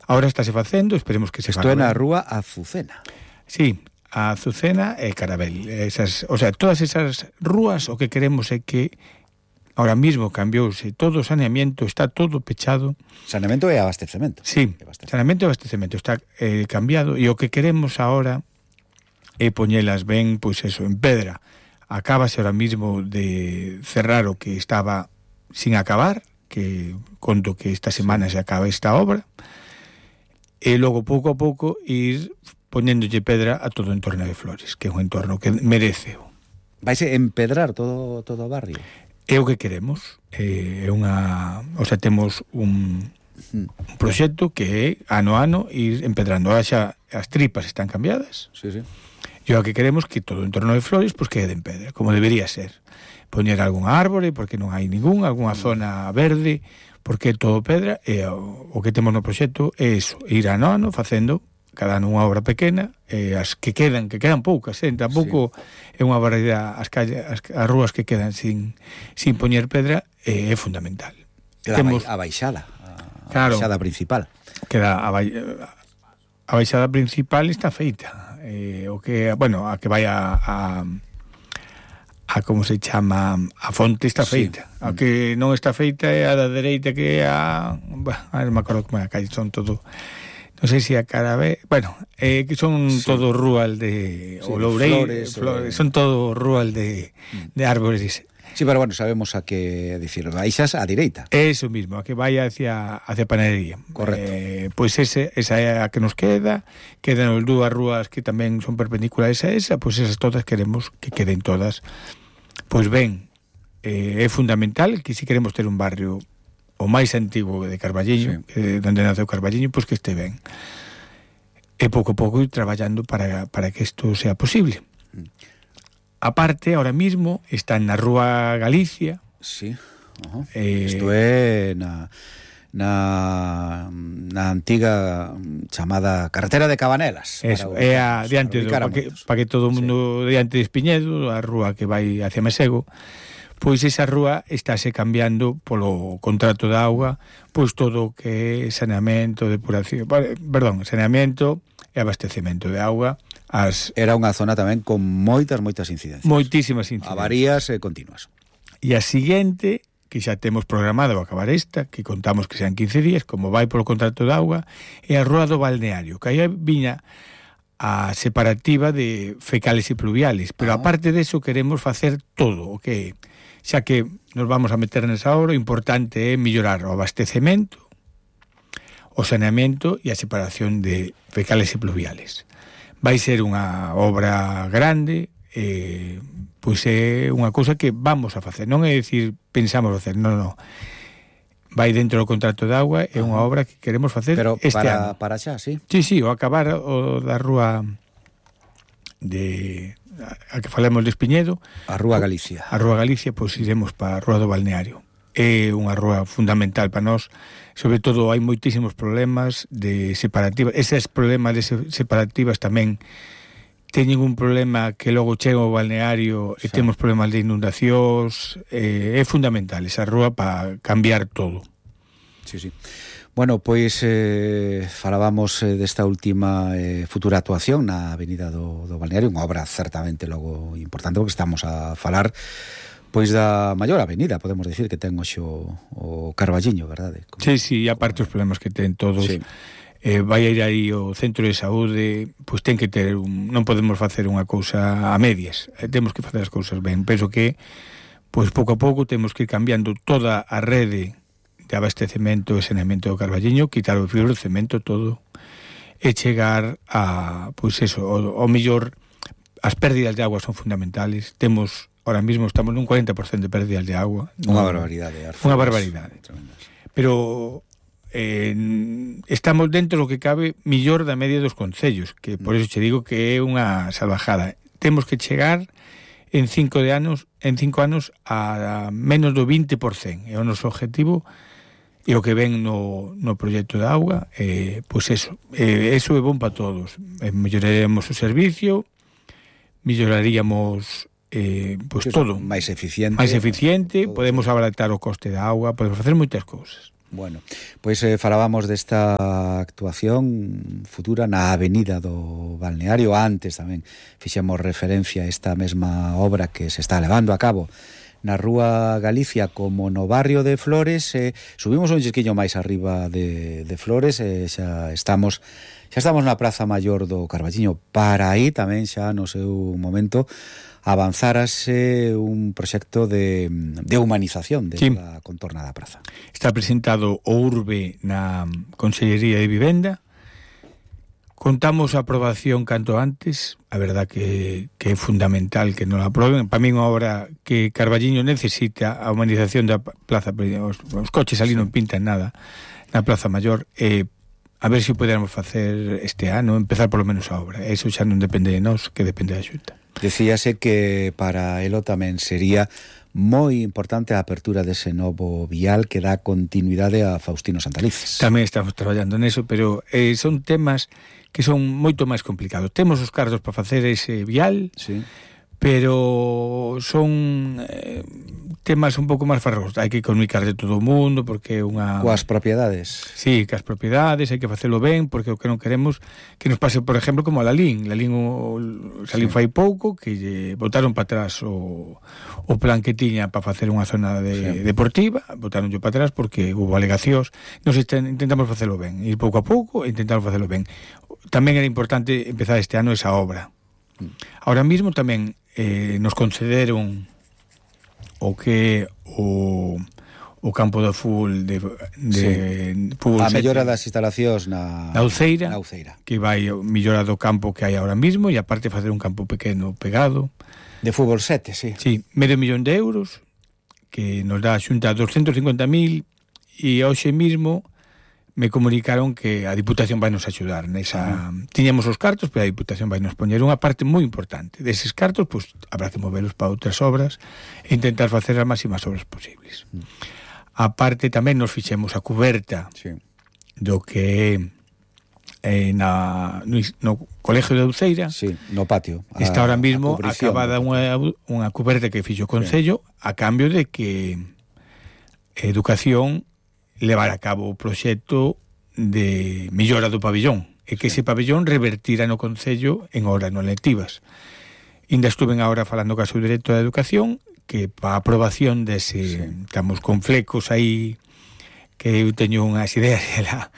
Ahora estáse facendo, esperemos que se faga. Isto é na rúa Azucena. Sí, a Azucena e Carabel. O sea, todas esas rúas o que queremos é que ahora mismo cambiouse todo o saneamento, está todo pechado. Saneamento e abastecemento. Sí, saneamento e abastecemento está cambiado, e o que queremos ahora é poñelas ben, pois eso, en pedra. Acábase ahora mismo de cerrar o que estaba sin acabar, que conto que esta semana se acaba esta obra, e logo pouco a pouco ir poñéndolle pedra a todo o entorno de Flores, que é un entorno que merece. Vaise empedrar todo o barrio? É o que queremos. O sea, temos un proxecto que é ano a ano ir empedrando. Ahora xa as tripas están cambiadas. Sí, sí. E o que queremos que todo o entorno de Flores pues quede en pedra, como debería ser. Poñer algún árbore, porque non hai ningún, alguna zona verde, porque é todo pedra, e o que temos no proxecto é iso, ir ano a ano facendo cada ano unha obra pequena, e as que quedan poucas, tampouco é unha barbaridade, as rúas que quedan sin poñer pedra é fundamental. Temos a baixada, a baixada principal. Queda a baixada principal está feita. O que, bueno, a que vai a como se chama, a fonte está feita. A que non está feita é a da dereita, que é non me acordo como é a calle, son todo, non sei se a Carabé, bueno, que son todo rual de Loureiro, Flores, son todo rual de árboles. Sí, pero bueno, sabemos a que decir, baixas a direita. Eso mismo, a que vai hacia Panadería. Correcto. Pois esa é a que nos quedan dúas rúas que tamén son perpendiculares a esa, pois esas todas queremos que queden todas. Pois ben, é fundamental que se queremos ter un barrio o máis antigo de Carballiño, donde naceu Carballiño, pois que este ben. E pouco a pouco ir traballando para que isto sea posible. Aparte, ahora mismo está na Rúa Galicia. Sí. Isto é na antiga chamada carretera de Cabanelas. Eso, é a diante para que todo o mundo diante de Espiñedo, a rúa que vai hacia Mesego. Pois esa rúa estáse cambiando polo contrato de auga, pois todo o que é saneamento, depuración, saneamento e abastecemento de auga. Era unha zona tamén con moitas incidencias. Moitísimas incidencias. Avarías continuas. E a seguinte, que xa temos programado acabar esta, que contamos que sean 15 días, como vai polo contrato de auga, é a Rúa do Balneario, que aí viña a separativa de fecales e pluviales, pero aparte de eso queremos facer todo, o que xa que nos vamos a meter nesa obra, o importante é mellorar o abastecemento, o saneamento e a separación de fecales e pluviales. Vai ser unha obra grande, pois é unha cousa que vamos a facer, non é dicir pensamos facer, non. Vai dentro do contrato de auga, é unha obra que queremos facer este ano. Pero para xa, sí? Sí, o acabar o da rúa a que falamos de Espiñedo. A Rúa Galicia. A Rúa Galicia, pois iremos para a Rúa do Balneario. É unha rúa fundamental para nós, sobre todo hai moitísimos problemas de separativas. Eses problemas de separativas tamén teñen un problema que logo chega ao balneario e temos problemas de inundacións. É fundamental esa rúa para cambiar todo. Sí. Bueno, pois falábamos desta última futura actuación na Avenida do Balneario, unha obra certamente logo importante, porque estamos a falar pois da maior avenida, podemos dicir, que ten hoxe o Carballiño, verdade? Sí, aparte os problemas que ten todos. Sí. Vai ir aí o centro de saúde, pois ten que ter non podemos facer unha cousa a medias, temos que facer as cousas ben. Penso que pois pouco a pouco temos que ir cambiando toda a rede de abastecemento e saneamento do Carballiño, quitar o fibro, o cemento, todo, e chegar a, pois eso, o mellor, as pérdidas de agua son fundamentales. Ahora mismo estamos nun 40% de pérdidas de agua. Unha barbaridade. Unha barbaridade. Pero estamos dentro do que cabe millor da media dos concellos, que por eso che digo que é unha salvajada. Temos que chegar en 5 anos a menos do 20%. É o noso objetivo e o que ven no proxecto de auga, pois eso é bon para todos. Melloraremos o servicio, melloraríamos pois todo máis eficiente, podemos abaratar o coste da auga, podemos facer moitas cousas. Bueno, pois falábamos desta actuación futura na Avenida do Balneario. Antes tamén fixemos referencia a esta mesma obra que se está levando a cabo na Rúa Galicia como no barrio de Flores. Subimos un chisquiño máis arriba de Flores, xa estamos na Praza Maior do Carballiño. Para aí tamén xa no seu momento avanzárase un proxecto de humanización da contorna da praza. Está presentado o URBE na Consellería de Vivenda. Contamos a aprobación canto antes. A verdad que é fundamental que non a aproben. Para mí unha obra que Carballiño necesita, a humanización da plaza. Os coches ali non pintan nada na Praza Maior. A ver se podemos facer este ano, empezar polo menos a obra. Eso xa non depende de nós, que depende da Xunta. Decíase que para elo tamén sería moi importante a apertura dese novo vial que dá continuidade a Faustino Santalices. Tamén estamos traballando neso, pero son temas que son moito máis complicados. Temos os cartos para facer ese vial, sí, pero son temas un pouco máis farrosos. Hai que comunicar de todo o mundo, porque é unha... Coas propiedades. Sí, cas propiedades, hai que facelo ben, porque o que non queremos que nos pase, por exemplo, como a Lalín. Lalín salín fai pouco, que lle botaron para atrás o plan que tiña para facer unha zona deportiva, botaronlle para atrás porque houve alegacións. Nos intentamos facelo ben, ir pouco a pouco e intentamos facelo ben. Tamén era importante empezar este ano esa obra. Ahora mismo tamén nos concederon o que o campo de fútbol fútbol a mellora das instalacións na Uceira, Uceira, que vai mellora do campo que hai ahora mismo e aparte facer un campo pequeno pegado de fútbol 7, sí. Sí, medio millón de euros que nos dá a Xunta 250.000 e hoxe mismo me comunicaron que a Diputación vai nos axudar nesa... Tiñamos os cartos, pero a Diputación vai nos poñer unha parte moi importante. Deses cartos, pois, habrá que movelos para outras obras e intentar facer as máximas obras posibles. A parte, tamén nos fixemos a cuberta do que no Colegio de Uceira. Sí, no patio. Está ahora mismo acabada unha cuberta que fixo o Concello a cambio de que Educación levar a cabo o proxecto de mellora do pabellón e que ese pabellón revertira no Concello en horas non lectivas. Ainda estuven agora falando co seu director de Educación que para a aprobación dese estamos con flecos aí que eu teño unhas ideas e ela,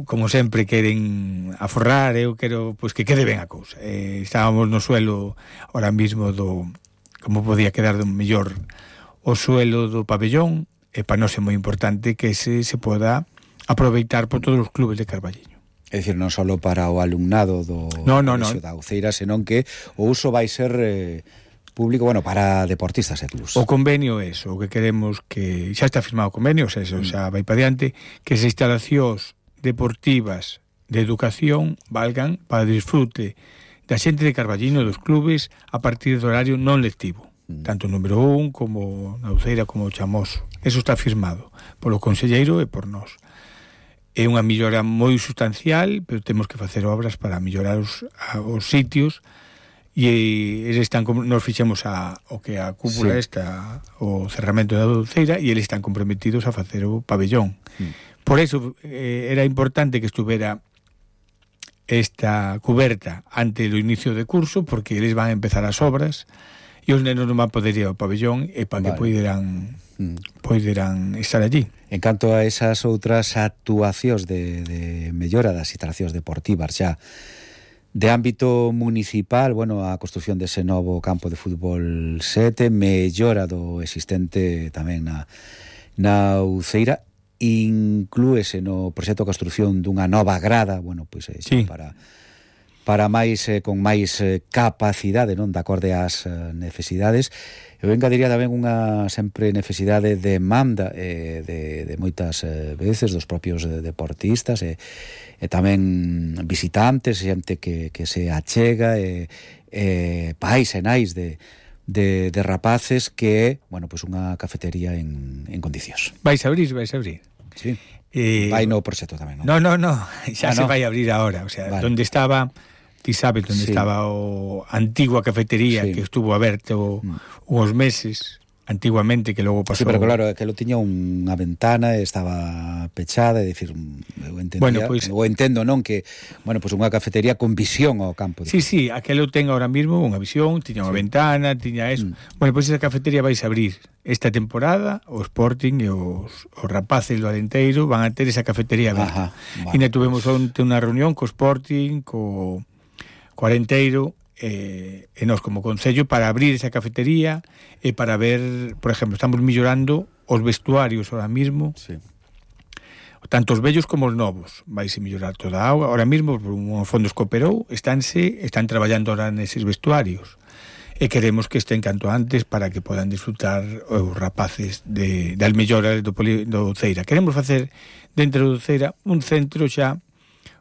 como sempre queren aforrar, eu quero pois que quede ben a cousa. Estábamos no suelo ahora mismo do como podía quedar do mellor o suelo do pabellón. E para nós é moi importante que se poda aproveitar por todos os clubes de Carballiño. É dicir, non só para o alumnado do Colegio da Uceira, senón que o uso vai ser público, bueno, para deportistas e clubs. O convenio é eso, o que queremos que xa está firmado o convenio, eso xa vai para diante, que as instalacións deportivas de educación valgan para disfrute da xente de Carballiño, dos clubes, a partir do horario non lectivo. Tanto o número 1 como na Uceira como o Chamoso. Eso está firmado polo conselleiro e por nós. É unha mellora moi sustancial, pero temos que facer obras para mellorar os sitios e eles están nos fixemos o que a cúpula o cerramento da Uceira e eles están comprometidos a facer o pabellón. Por eso era importante que estuvera esta cuberta ante o inicio de curso, porque eles van a empezar as obras e os nenos non van poder ir ao pabellón e para que poideran estar allí. En canto a esas outras actuacións de mellora das instalacións deportivas xa de ámbito municipal, bueno, a construción dese novo campo de fútbol 7, mellora do existente tamén na Uceira, inclúese no proxecto de construción dunha nova grada, bueno, pois xa para máis con máis capacidade, non, de acorde ás necesidades. Eu engadiría tamén unha sempre necesidade de demanda de moitas veces dos propios deportistas e tamén visitantes, xente que se achega pais e nais de rapaces que, bueno, pois unha cafetería en condicións. Vais a abrir. Sí. Vai no proxecto tamén, No, non? xa se vai a abrir ahora, o sea, donde estaba... Ti sabes onde estaba o antigua cafetería que estuvo aberto uns meses, antiguamente, que logo pasou... Sí, pero claro, que lo tiña unha ventana, estaba pechada, é dicir, eu entendía, bueno, pois, eu entendo, non, que, bueno, pois unha cafetería con visión ao campo. Sí, sí, aquelo ten ahora mismo unha visión, tiña unha ventana, tiña eso. Bueno, pois esa cafetería vais a abrir esta temporada, o Sporting e os rapaces do Alenteiro van a ter esa cafetería aberta. E na tuvemos onte unha reunión co Sporting, co Alenteiro, e nós como concello para abrir esa cafetería e para ver, por exemplo, estamos mellorando os vestuarios ahora mismo, sí, tanto os vellos como os novos. Vaise mellorar toda a auga. Ahora mismo, por un fondo escooperou, están traballando ahora neses vestuarios e queremos que estén canto antes para que podan disfrutar os rapaces das melloras do Ceira. Queremos facer dentro do Ceira un centro xa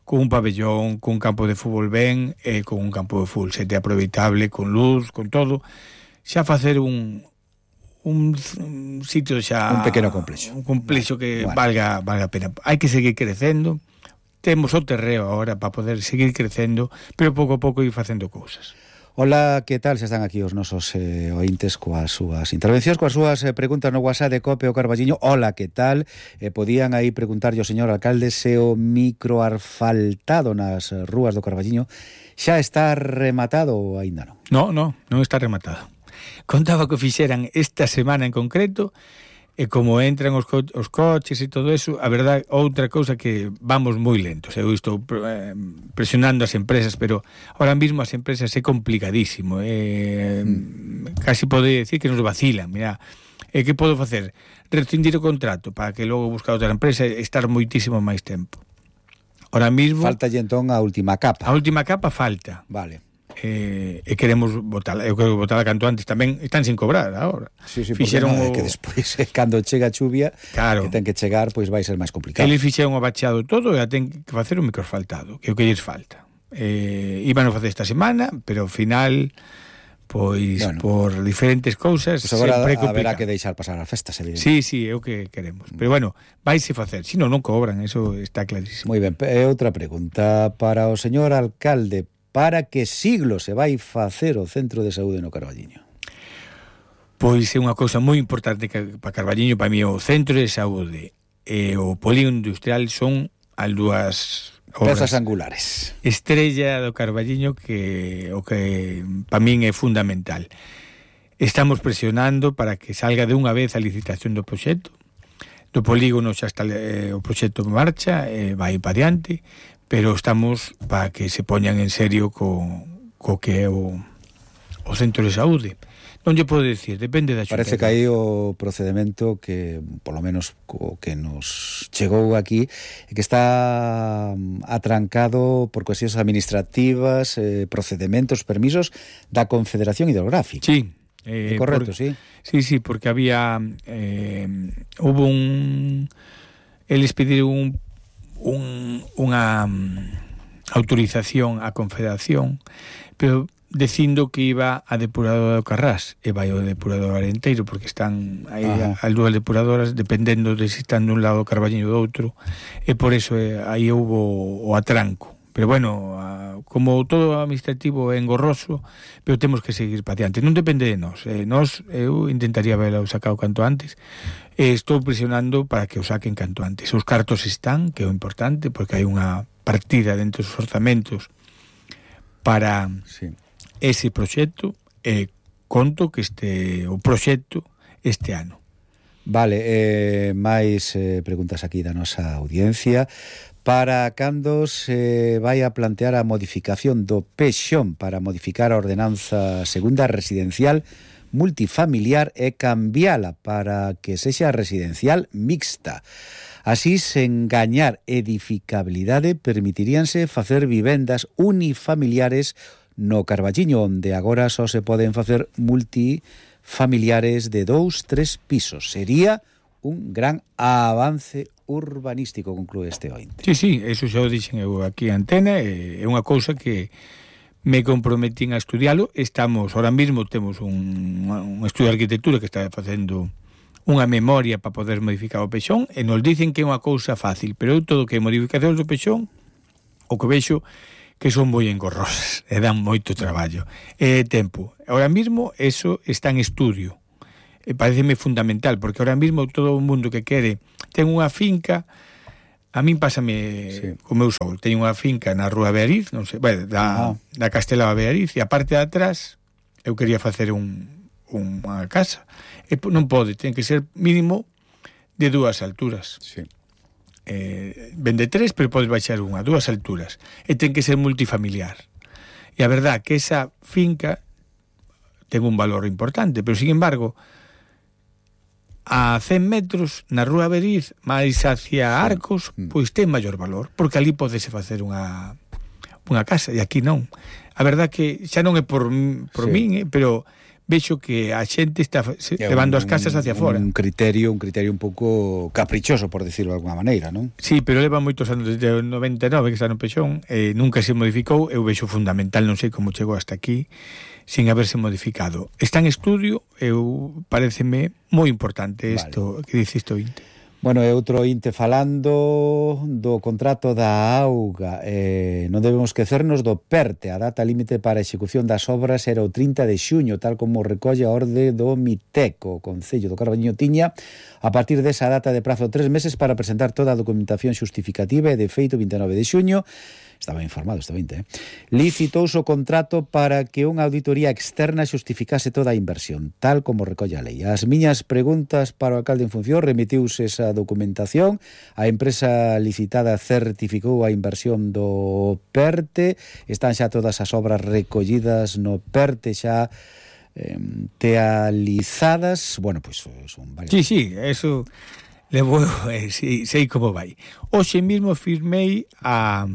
con un pabellón, con un campo de fútbol ben, e con un campo de fútbol sete aproveitable, con luz, con todo, xa facer un sitio xa... Un pequeno complexo. Un complexo que valga a pena. Hai que seguir crecendo, temos o terreo agora para poder seguir crecendo, pero pouco a pouco ir facendo cousas. Hola, que tal? Se están aquí os nosos ointes coas súas intervencións, coas súas preguntas no WhatsApp de Cope o Carballiño. Hola, que tal? Podían aí preguntarlle ao señor alcalde se o microasfaltado nas rúas do Carballiño xa está rematado ou aínda non? Non está rematado. Contaba que o fixeran esta semana en concreto, e como entran os coches e todo eso, a verdade, outra cousa que vamos moi lentos. Eu estou presionando as empresas, pero ahora mismo as empresas é complicadísimo, casi pode decir que nos vacilan. Mira, que podo facer? Rescindir o contrato para que logo buscar outra empresa e estar moitísimo máis tempo. Ahora mismo... Falta entón a última capa. A última capa falta. Vale. E queremos botala, eu quero botala canto antes, tamén están sin cobrar agora. Sí, fixeron que despois cando chega a chuvia, claro, que ten que chegar, pois vai ser máis complicado. Eles fixeron o bachado todo e ten que facer un microasfaltado, que é o que lles falta. Iban a facer esta semana, pero ao final, pois, bueno, por diferentes cousas, pues agora haberá que deixar pasar as festas, evidentemente. Sí, é o que queremos. Pero bueno, vaise facer, si non cobran, eso está clarísimo. Moi ben, outra pregunta para o señor alcalde. Para que siglo se vai facer o centro de saúde no Carballiño? Pois é unha cousa moi importante para Carballiño. Para mí o centro de saúde e o polígono industrial son as dúas pezas angulares, estrella do Carballiño, que o que para min é fundamental. Estamos presionando para que salga de unha vez a licitación do proxecto. Do polígono xa está o proxecto en marcha, vai para diante, pero estamos para que se poñan en serio co que é o centro de saúde. Non lle podo decir, depende da Xunta. Parece que aí o procedimento que, polo menos o que nos chegou aquí, que está atrancado por cuestións administrativas, procedimentos, permisos da Confederación Hidrográfica. Sí. Correcto, sí. Sí, porque había hubo eles pediron unha autorización á Confederación, pero dicindo que iba a depuradora do Carrás e vai ao depurador Alenteiro, porque están aí as dúas depuradoras dependendo de se están dun lado o Carballiño do outro, e por eso aí houbo o atranco. Pero bueno, como todo administrativo é engorroso, pero temos que seguir para diante. Non depende de nós. Eu intentaría verlo sacado canto antes. Estou presionando para que o saquen canto antes. Os cartos están, que é o importante, porque hai unha partida dentro dos orzamentos para ese proxecto, e conto que o proxecto este ano. Vale, máis preguntas aquí da nosa audiencia. Para cando se vai a plantear a modificación do PEXON para modificar a ordenanza segunda residencial multifamiliar e cambiala para que sexa residencial mixta? Así, sen gañar edificabilidade, permitiríanse facer vivendas unifamiliares no Carballiño, onde agora só se poden facer multifamiliares de 2-3 pisos. Sería un gran avance urbanístico, conclúe este ointe. Sí, eso xa o dixen eu aquí a antena, é unha cousa que me comprometín a estudialo. Ahora mismo temos un estudio de arquitectura que está facendo unha memoria para poder modificar o PEXON, e nos dicen que é unha cousa fácil, pero eu todo que modificacións do PEXON, o que vexo que son moi engorrosas e dan moito traballo e tempo. Ahora mismo eso está en estudio. pareceme fundamental, porque ahora mesmo todo o mundo que quere ten unha finca. A min pásame co meu sogro. Teño unha finca na Rúa Beariz, non sei, bueno, da Castelao a Beariz, e a parte de atrás eu quería facer unha casa. E non pode, ten que ser mínimo de 2 alturas. Sí. Vende 3, pero podes baixar 2 alturas. E ten que ser multifamiliar. E a verdad que esa finca ten un valor importante, pero sin embargo a 100 metros na Rúa Beariz máis hacia Arcos, pois ten maior valor, porque ali podese facer unha casa, e aquí non. A verdad que xa non é por min, pero vexo que a xente está levando as casas hacia fora. Un criterio un pouco caprichoso, por decirlo de alguna maneira, non? Sí, pero leva moitos anos, desde o 99 que está no Pexón, nunca se modificou. Eu vexo fundamental, non sei como chegou hasta aquí sin haberse modificado. Está en estudio, pareceme moi importante isto que dice isto Inte. Bueno, e outro Inte falando do contrato da auga. Non debemos esquecernos do PERTE. A data límite para a execución das obras era o 30 de xuño, tal como recolle a orde do MITECO. O Concello do Carballiño tiña, a partir desa data de prazo 3 meses para presentar toda a documentación xustificativa, e de feito 29 de xuño estaba informado este 20, licitouse o contrato para que unha auditoría externa xustificase toda a inversión, tal como recolle a lei. As miñas preguntas para o alcalde en función: remitiuse esa documentación, a empresa licitada certificou a inversión do PERTE, están xa todas as obras recollidas no PERTE xa tealizadas. Bueno, pois son varias. Sí, eso levo, sei como vai. Hoxe mesmo firmei a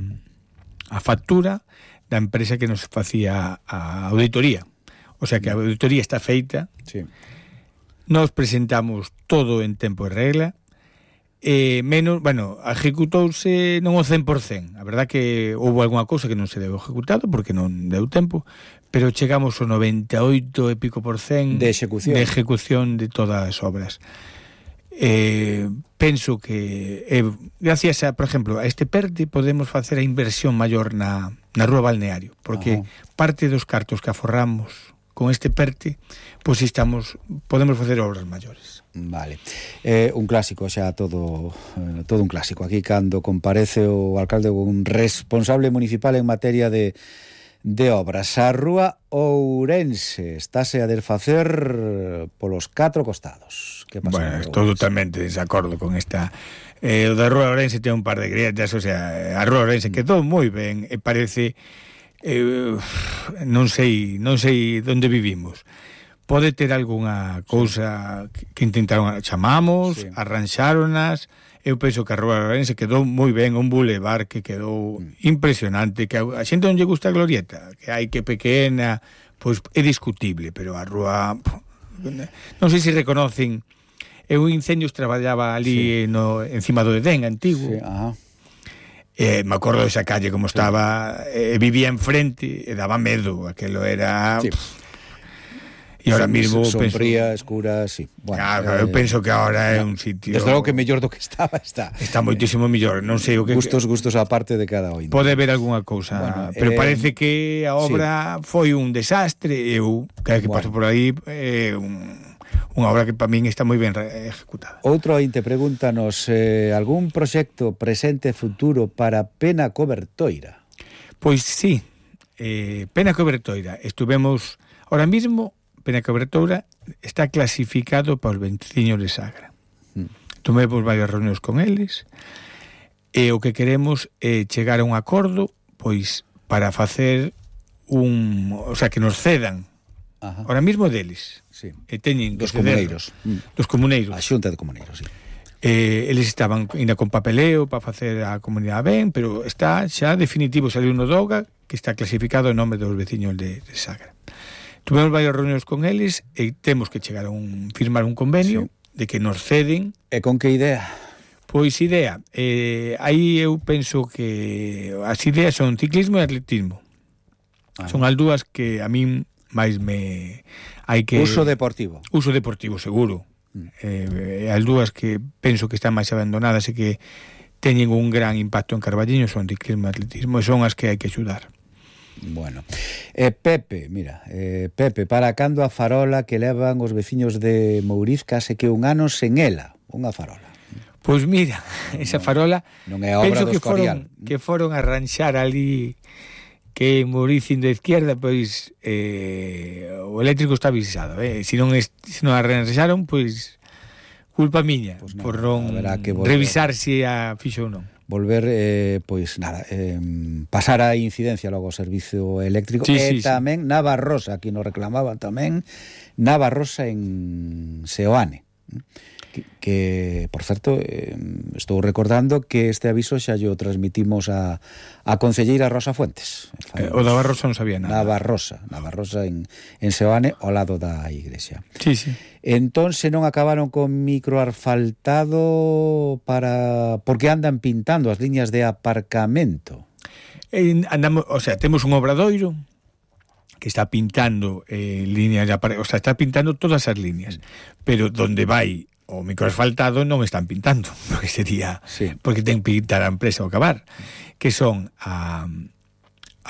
factura da empresa que nos facía a auditoría. O sea que a auditoría está feita. Sí. Nos presentamos todo en tempo e regla. Menos, bueno, executouse non o 100%. A verdad que houve algunha cousa que non se deu ejecutado porque non deu tempo, pero chegamos ao 98 e pico % de execución de todas as obras. Penso que gracias a, por exemplo, a este PERTE podemos facer a inversión maior na Rúa Balneario, porque parte dos cartos que aforramos con este PERTE, pois podemos facer obras maiores. Vale. Un clásico xa, todo un clásico. Aquí cando comparece o alcalde ou un responsable municipal en materia de obras. A Rúa Ourense estáse a desfacer polos 4 costados. Que pasa? Bueno, estou totalmente desacordo con esta. O da Rúa Ourense ten un par de grietas, o sea, a Rúa Ourense quedou moi ben, e parece non sei onde vivimos. Pode ter algunha cousa que intentaron, chamamos, arranxáronas. Eu penso que a Rúa Ourense quedou moi ben, un bulevar que quedou impresionante, que a xente non lle gusta a glorieta, que hai que pequena, pois é discutible, pero a rúa non sei se reconocen. Eu Incendios traballaba ali encima do Edén antigo. Me acordo desa calle como estaba, vivía enfrente e daba medo, aquelo era... E ahora mismo sombría, escura, sí. Bueno, claro, eu penso que ahora é un sitio... Desde logo que mellor do que estaba está. Está moitísimo mellor, non sei o que... Gustos á parte de cada ointe. Pode haber algunha cousa, pero parece que a obra foi un desastre. Eu, cada que paso por aí, unha obra que para min está moi ben ejecutada. Outro ointe pregúntanos, algún proxecto presente e futuro para Pena Cobertoira? Pois sí, Pena Cobertoira. Estuvemos, ahora mismo, Pena Cobertoira está clasificado para os veciños de Sagra. Tomemos varias reunións con eles, e o que queremos é chegar a un acordo, pois, para facer o sea, que nos cedan ahora mismo deles. Sí. E teñen dos comuneiros. Dos comuneiros. A xunta de comuneiros, sí. Eles estaban ainda con papeleo para facer a comunidade ben, pero está xa definitivo, saliu no DOGA, que está clasificado en nome dos veciños de Sagra. Tuvemos varias reunións con eles e temos que chegar a firmar un convenio de que nos ceden. E con que idea? Pois idea, aí eu penso que as ideas son ciclismo e atletismo. Son as dúas que a min máis hai que... Uso deportivo. Uso deportivo, seguro. As dúas que penso que están máis abandonadas e que teñen un gran impacto en Carballiño son ciclismo e atletismo, e son as que hai que axudar. Bueno, Pepe, mira, Pepe, para cando a farola que levan os veciños de Mouriz case que un ano sen ela, unha farola? Pois mira, esa farola non é obra do Escorial. Que foron a arranxar ali que en Mouriz indo a izquierda, pois o eléctrico está avisado, se non arranxaron, pois culpa miña, pues por non revisar se a fixo ou non. Volver, pois nada, pasar a incidencia logo ao servizo eléctrico, sí, tamén Navarrosa, aquí nos reclamaban tamén Navarrosa en Seoane, que por certo, estou recordando que este aviso xa yo transmitimos a concelleira Rosa Fuentes. O da Navarrosa non sabía nada. Navarrosa en Seoane, ao lado da igrexa. Sí, sí. Entón, se non acabaron con microasfaltado porque andan pintando as liñas de aparcamento. Andamos, o sea, temos un obradoiro que está pintando líneas de aparcamento, o sea, está pintando todas as líneas, pero donde vai o microasfaltado non están pintando, porque sería porque ten que pintar a empresa ao acabar, que son a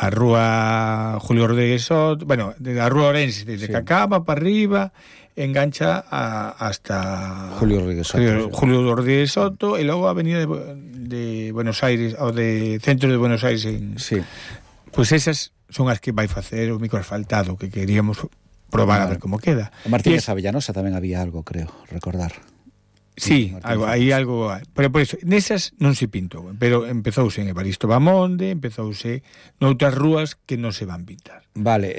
rúa Julio Rodríguez Soto, bueno, de a rúa Orense, desde Cacaba para arriba, engancha hasta Julio Rodríguez Soto, e logo a avenida de Buenos Aires, ou de centro de Buenos Aires pois esas son as que vai facer o microasfaltado, que queríamos probar a ver como queda. O Martínez Avellanosa tamén había algo, creo, recordar. Sí, hai algo, pero por eso, nesas non se pintou, pero empezouse en Evaristo Bamonde, empezouse noutras rúas que non se van pintar. Vale,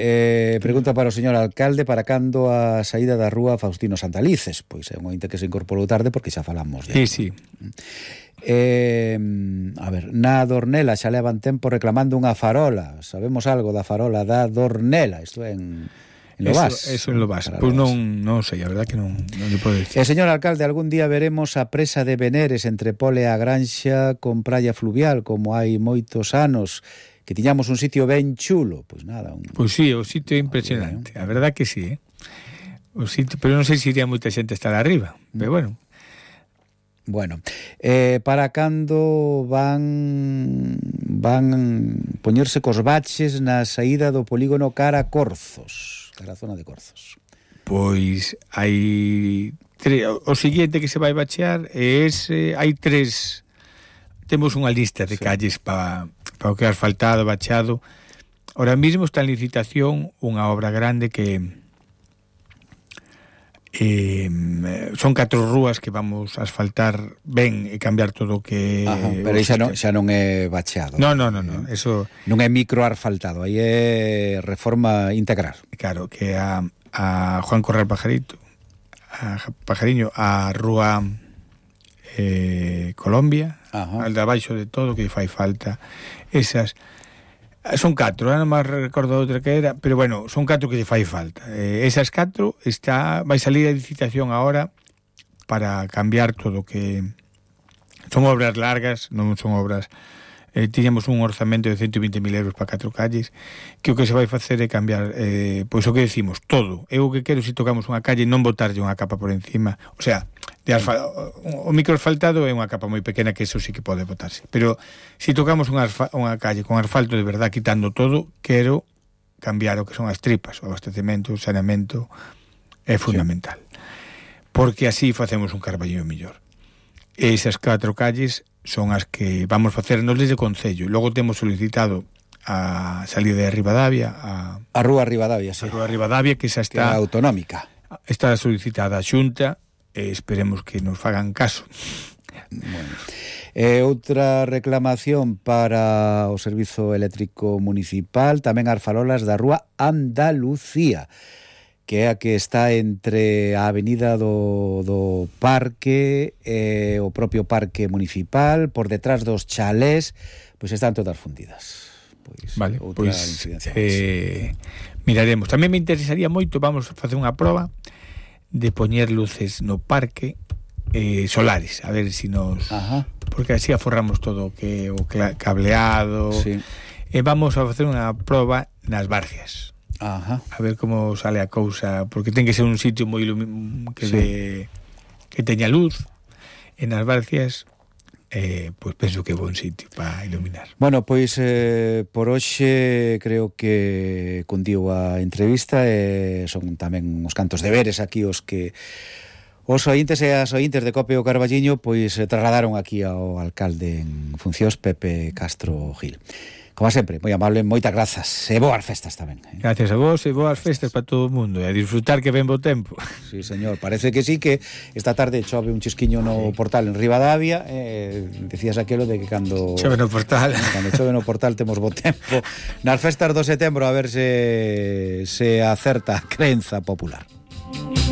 pregunta para o señor alcalde, para cando a saída da rúa Faustino Santalices? Pois é un ointe que se incorporou tarde porque xa falamos. Sí. A ver, na Dornela xa levan tempo reclamando unha farola. Sabemos algo da farola da Dornela? Isto é en Lobás. Eso en Lobás. Pois non sei, a verdad que non lle podo dicir. Señor alcalde, algún día veremos a presa de Veneres entre Pole a Granxa con praia fluvial, como hai moitos anos, que tiñamos un sitio ben chulo. Pois nada. Pois sí, o sitio é impresionante. A verdad que sí, O sitio, pero non sei se iría moita xente a estar arriba, pero bueno. Bueno, para cando van poñerse cos baches na saída do polígono cara a Corzos, cara a zona de Corzos? Pois hai o seguinte que se vai bachear é hai tres, temos unha lista de calles para o que é asfaltado, bachado. Ahora mismo está en licitación unha obra grande que son 4 rúas que vamos a asfaltar ben e cambiar todo o que... pero xa non é bacheado. No, eso... Non é microasfaltado, aí é reforma integral. Claro, que a Juan Corral Pajariño, a rúa Colombia, al de abaixo de todo, que fai falta. Esas... Son 4, non máis recordo outra que era, pero bueno, son 4 que lle fai falta. Esas 4 vai salir a licitación agora para cambiar todo, que son obras largas, non son obras... tiñamos un orzamento de 120.000 euros para 4 calles, que o que se vai facer é cambiar, pois o que decimos, todo. Eu o que quero, se tocamos unha calle, non botarlle unha capa por encima, o sea, o microasfaltado é unha capa moi pequena, que eso sí que pode botarse, pero se tocamos unha calle con asfalto de verdad, quitando todo, quero cambiar o que son as tripas, o abastecemento, o saneamento, é fundamental, porque así facemos un Carballiño mellor. Esas 4 calles son as que vamos facernos desde o Concello. Logo temos solicitado a salida de Ribadavia, a Rúa Ribadavia, sí. A Rúa Ribadavia, que xa está... Que é autonómica. Está solicitada a Xunta, e esperemos que nos fagan caso. Bueno. Outra reclamación para o Servizo Eléctrico Municipal, tamén as farolas da Rúa Andalucía, que é a que está entre a avenida do Parque e o propio Parque Municipal, por detrás dos chalés, pois están todas fundidas. Vale, pois miraremos. Tamén me interesaría moito, vamos a facer unha proba de poñer luces no parque solares, a ver se nos... Porque así aforramos todo o cableado. Sí. Vamos a facer unha proba nas Barcias. A ver como sale a cousa, porque ten que ser un sitio moi que teña luz. En as Barcias pois penso que é bon sitio para iluminar. Bueno, pois por hoxe creo que cundiu a entrevista e son tamén uns cantos deberes aquí os que os ointes e as ointes de Cope o Carballiño pois trasladaron aquí ao alcalde en funcións, Pepe Castro Gil. Como sempre, moi amable, moitas grazas e boas festas tamén. Gracias a vos e boas festas para todo o mundo e a disfrutar que ven bo tempo. Sí, señor, parece que sí, que esta tarde chove un chisquiño no portal en Ribadavia, decías aquelo de que cando chove no portal temos bo tempo nas festas do setembro, a ver se acerta a crenza popular.